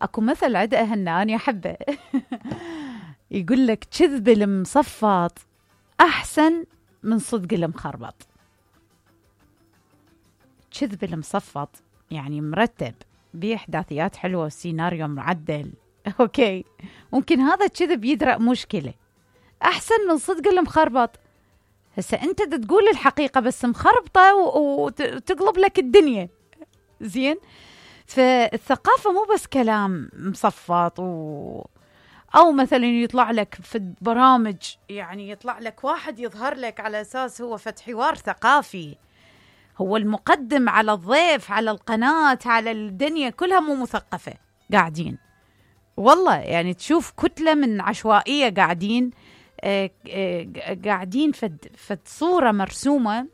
اكو مثل عند اهلنا انا احبه يقول لك كذب المصفط احسن من صدق المخربط. كذب المصفط يعني مرتب باحداثيات حلوه وسيناريو معدل اوكي، ممكن هذا الكذب يدرأ مشكله احسن من صدق المخربط. هسه انت تقول الحقيقه بس مخربطه وتقلب لك الدنيا. زين، فالثقافه مو بس كلام مصفط او مثلا يطلع لك في البرامج، يعني يطلع لك واحد يظهر لك على اساس هو فتح حوار ثقافي، هو المقدم على الضيف على القناه على الدنيا كلها مو مثقفه قاعدين. والله يعني تشوف كتله من عشوائيه قاعدين قاعدين فد صوره مرسومه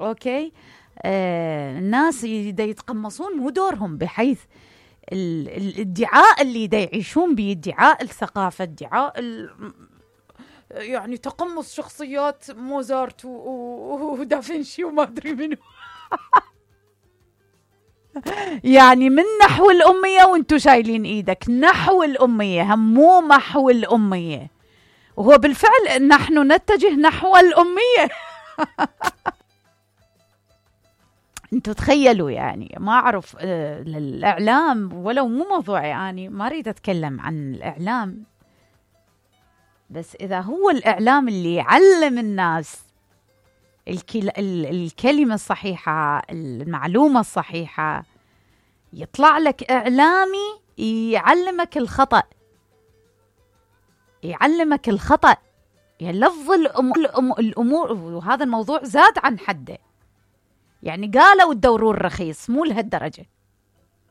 اوكي. الناس يتقمصون مو دورهم، بحيث الادعاء اللي يعيشون به، ادعاء الثقافه، ادعاء يعني تقمص شخصيات موزارت ودافنشي وما ادري منو يعني من نحو الاميه، وانتم شايلين ايدك نحو الاميه، هم مو محو الاميه، وهو بالفعل نحن نتجه نحو الاميه انتوا تخيلوا يعني. ما اعرف الاعلام ولو مو موضوعي، يعني ما اريد اتكلم عن الاعلام، بس اذا هو الاعلام اللي يعلم الناس الكلمه الصحيحه المعلومه الصحيحه، يطلع لك اعلامي يعلمك الخطأ، يعلمك الخطأ، يلفظ الامور، وهذا الموضوع زاد عن حده. يعني قالوا الدورون رخيص، مو لهالدرجة،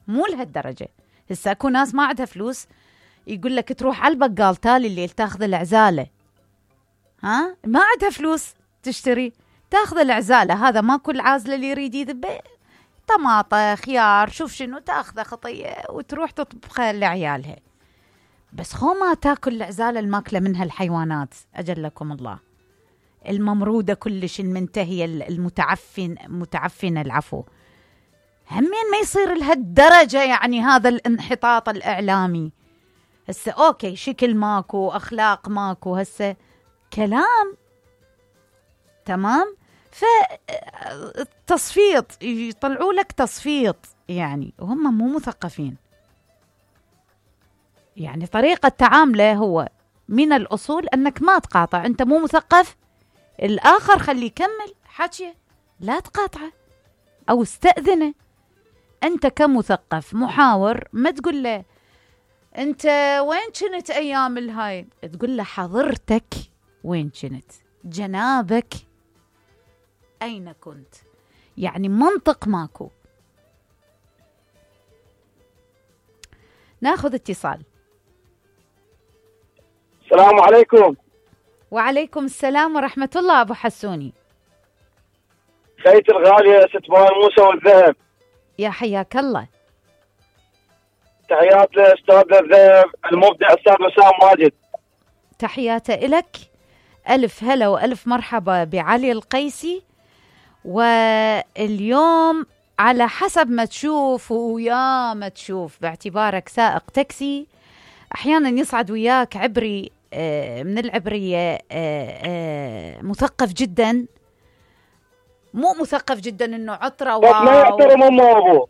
مو لهالدرجة. هسه اكو ناس ما عندها فلوس يقول لك تروح على البقال تالي الليل تاخذ العزالة، ها ما عندها فلوس تشتري، تاخذ العزالة، هذا ما كل عازلة اللي يريد يذبه طماطة خيار شوف شنو، تاخذه خطية وتروح تطبخها لعيالها. بس خو ما تاكل العزالة الماكلة منها الحيوانات أجلكم الله، الممرودة كلش المنتهية متعفنة العفو. همين ما يصير لهالدرجة يعني هذا الانحطاط الإعلامي. هسه أوكي شكل ماكو، أخلاق ماكو، هسه كلام تمام. فالتصفيط يطلعوا لك تصفيط يعني، وهم مو مثقفين. يعني طريقة تعامله هو من الأصول أنك ما تقاطع، أنت مو مثقف، الآخر خليه يكمل حكي، لا تقاطعه أو استأذنه. أنت كمثقف محاور ما تقول له أنت وين كنت أيام الهاي، تقول له حضرتك وين كنت، جنابك أين كنت. يعني منطق ماكو. ناخذ اتصال. السلام عليكم. وعليكم السلام ورحمة الله. أبو حسوني خيتي الغالية ست بوان موسى والذهب، يا حياك الله. تحيات لأستاذ الذهب المبدع أستاذ وسام ماجد. تحياتي إلك، ألف هلا وألف مرحبا بعلي القيسي. واليوم على حسب ما تشوف ويا ما تشوف، باعتبارك سائق تاكسي أحيانا يصعد وياك عبري من العبرية مثقف جدا، مو مثقف جدا انه عطرة بس ما يحترم امه وابوه.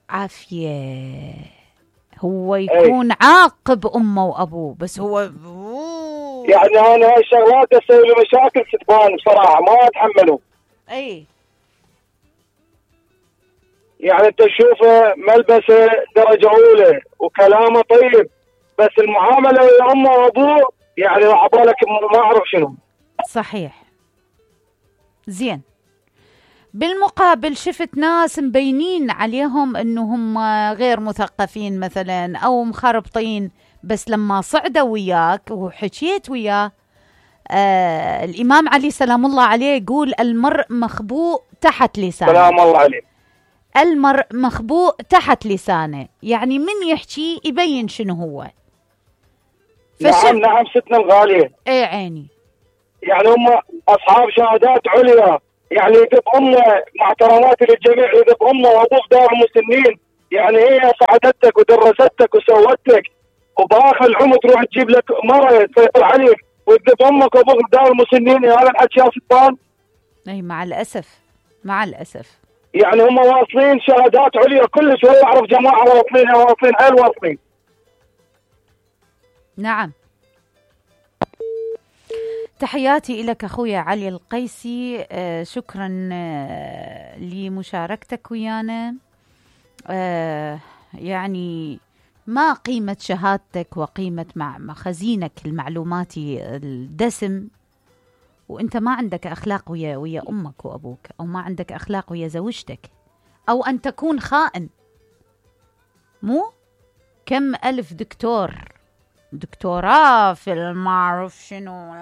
عافية، هو يكون عاقب امه وابوه، بس هو يعني انا هاي الشغلات تسوي له مشاكل ستبان بصراحة ما اتحمله. اي يعني انت تشوفه ملبسه درجة اولى وكلامه طيب، بس المعاملة ويا امه وابوه يعني عبالك ما اعرف شنو. صحيح. زين، بالمقابل شفت ناس مبينين عليهم انهم غير مثقفين مثلا او مخربطين، بس لما صعدوا وياك وحكيت وياه الامام علي سلام الله عليه يقول المرء مخبوء تحت لسانه. سلام الله عليه. المرء مخبوء تحت لسانه، يعني من يحكي يبين شنو هو. نعم ستنا الغالية. اي عيني. يعني هم اصحاب شهادات عليا، يعني يدب امه مع احتراماتي للجميع، يدب امه وابوه دار مسنين، يعني هي ساعدتك ودرستك وسوتك، وباخر العمر تروح تجيب لك مرة تسيطر عليك وتذب امك وابوك بدال مسنين. هذا الحكي يا سلطان. اي مع الاسف، مع الاسف. يعني هم واصلين شهادات عليا كلش، ولا اعرف جماعه واصلين حيل واصلين. نعم. تحياتي لك أخويا علي القيسي، شكرا لمشاركتك ويانا. يعني ما قيمة شهادتك وقيمة مع خزينك المعلوماتي الدسم وانت ما عندك أخلاق ويا أمك وأبوك، أو ما عندك أخلاق ويا زوجتك، أو أن تكون خائن. مو كم ألف دكتوراه في المعرف شنو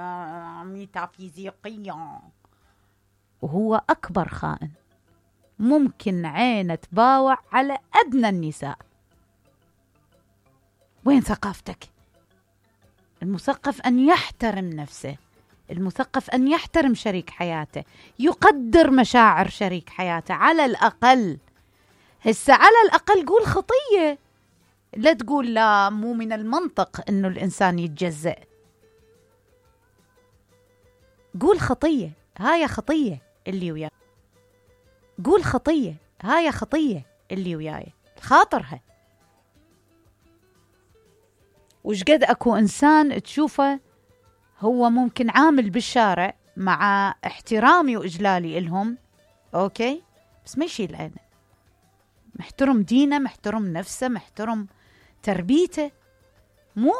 ميتافيزيقية، وهو أكبر خائن. ممكن عينه تباوع على أدنى النساء. وين ثقافتك؟ المثقف أن يحترم نفسه، المثقف أن يحترم شريك حياته، يقدر مشاعر شريك حياته على الأقل. هسه على الأقل قول خطية، لا تقول لا مو من المنطق إنه الإنسان يتجزأ. قول خطية، هاي خطية اللي وياي. قول خطية، هاي خطية اللي وياي، خاطرها. وش قد أكو إنسان تشوفه هو ممكن عامل بالشارع مع احترامي وإجلالي إلهم، أوكي، بس ما يشيل عينه، محترم دينه، محترم نفسه، محترم تربيته. مو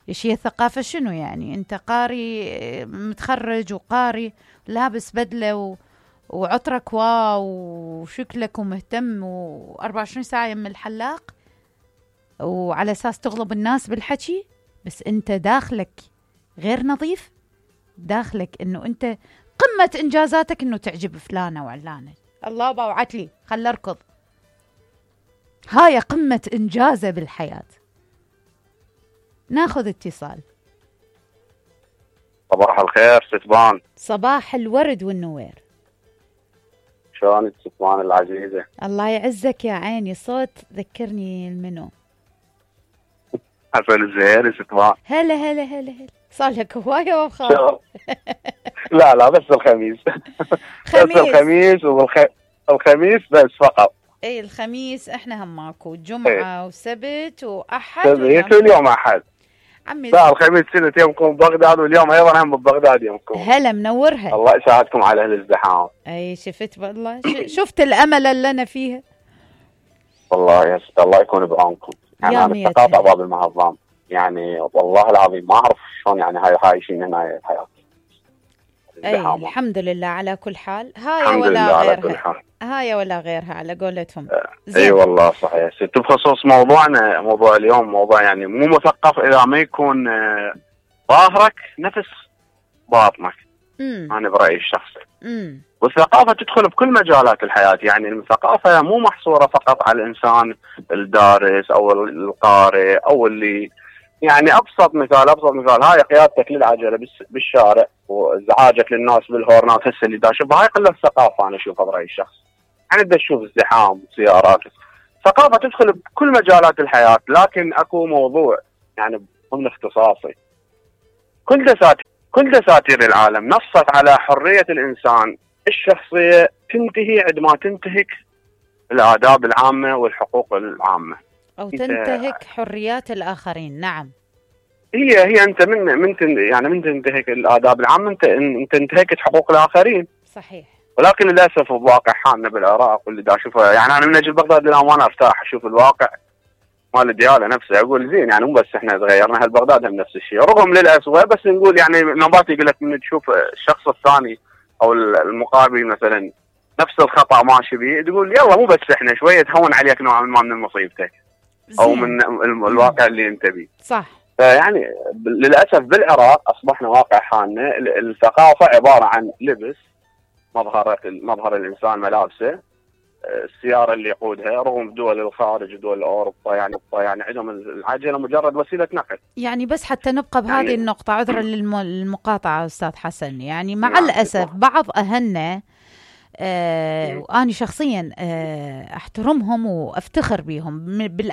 إيش هي الثقافة؟ شنو يعني أنت قاري متخرج وقاري لابس بدلة وعطرك واو وشكلك ومهتم و24 ساعة يم الحلاق وعلى أساس تغلب الناس بالحكي، بس أنت داخلك غير نظيف، داخلك أنه أنت قمة إنجازاتك أنه تعجب فلانة وعلانة. الله باوعت لي خل أركض، هاي قمة إنجازه بالحياة. ناخذ اتصال. صباح الخير ستبان. صباح الورد والنوير. شلونك ستبان العزيزة؟ الله يعزك يا عيني، صوت ذكرني المنو. حسن الزهيري ستبان. هلا هلا هلا هلا، صار لك هواية وخاف. لا بس الخميس. خميس. بس الخميس الخميس بس فقط. اي الخميس احنا هم ماكو، جمعة وسبت واحد سبت واليوم احد عمي. لا الخميس سنة يومكم ببغداد، واليوم ايضا هم ببغداد يومكم. هلا منورها. الله يساعدكم على الازدحام. اي شفت والله شفت الامل اللي انا فيها. والله يا ست الله يكون بعونكم. يعني انا الثقافة باب المعظم، يعني والله العظيم ما اعرف شلون يعني هاي عايشين هنا الحياة. اي الحمد لله على كل حال. هاي ولا غيرها، هاي ولا غيرها على قولتهم. اي والله صحيح ست. بخصوص موضوعنا، موضوع اليوم موضوع يعني مو مثقف اذا ما يكون ظاهرك نفس باطنك. انا برايي الشخصي. والثقافه تدخل بكل مجالات الحياه، يعني الثقافه مو محصوره فقط على الانسان الدارس او القارئ او اللي يعني ابسط مثال هاي قيادتك للعجله بالشارع وازعاجك للناس بالهورنات هسه اللي داشبها، هاي قله ثقافه انا اشوفها برايي الشخصي. يعني بدك تشوف ازدحام سيارات، ثقافه تدخل بكل مجالات الحياه. لكن اكو موضوع يعني ضمن اختصاصي، كل دساتير العالم نصت على حريه الانسان الشخصيه تنتهي عندما تنتهك الآداب العامه والحقوق العامه، او تنتهك حريات الاخرين. نعم، هي انت من تنتهك الآداب العامه انت انتهكت حقوق الاخرين. صحيح. ولكن للاسف بواقع حالنا بالعراق واللي دا اشوفه، يعني انا من اجل بغداد للامانه ارتاح اشوف الواقع مال الدياله نفسه، اقول زين يعني مو بس احنا تغيرنا، هل بغداد هم نفس الشيء رغم للاسوء. بس نقول يعني نبات يقول لك من تشوف الشخص الثاني او المقابل مثلا نفس الخطا ماشي بيه، تقول يلا مو بس احنا شويه تهون عليك نوعا ما من مصيبتك او من الواقع اللي انت بيه. صح. فيعني للاسف بالعراق اصبحنا واقع حالنا الثقافه عباره عن لبس، مظهر الانسان ملابسه، السياره اللي يقودها، رغم دول الخارج ودول اوروبا يعني عندهم العجله مجرد وسيله نقل. يعني بس حتى نبقى بهذه النقطه، عذرا للمقاطعه استاذ حسن، يعني مع الاسف بعض اهلنا وأنا شخصيا أحترمهم وأفتخر بهم